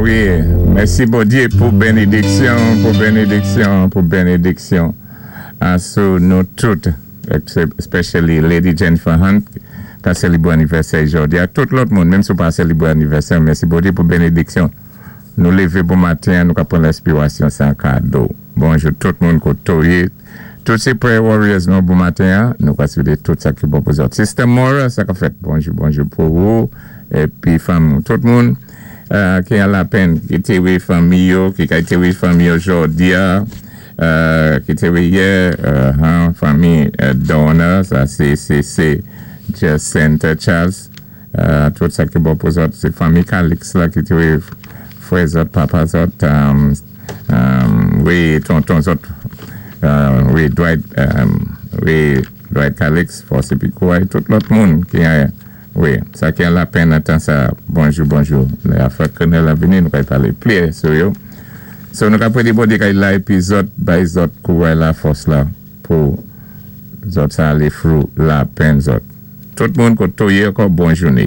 Wi, mèsi Bondyé pou benediksyon, pou benediksyon, pou benediksyon sou nou tout, especially Lady Jennifer Hunt ka selibre anivèsè jòdi a, tout lòt moun, menm si ou pa selibre anivèsè, mèsi Bondyé pou benediksyon. Nou lévé bon maten, nou ka pran lenspirasyon sé an kado. Bonjou tout moun koto yé. Tout sé prayer warriors nou bon maten, nou ka swété tout sa ki bon pou zòt. Sister Mora, sa ka fèt. Bonjou, bonjou pou ou épi fanmi tout moun ki an lapenn, ki té wé fanmi yo, ki kay té wé fanmi yo jòdi a, ki té wé yè, fanmi Donna, sa sé sé sé Jacinta Charles. Tout sa ki bon pou zòt, sé fanmi Calix la ki té wé frè zòt, papa zòt, wi tonton zòt, wi Dwight, wi Dwight Calix, fòs épi kouray tout lòt moun ki wi sa ki an lapenn nan tan sa. Bonjou, bonjou. Lè afè kriminèl ap vini, nou kay palé plis sou yo. So nou ka prédé Bondye kay la épi zòt bay zòt kouray la, fòs la pou zòt sa alé through lapenn zòt. Tout moun koto yé ankò, bon jouné.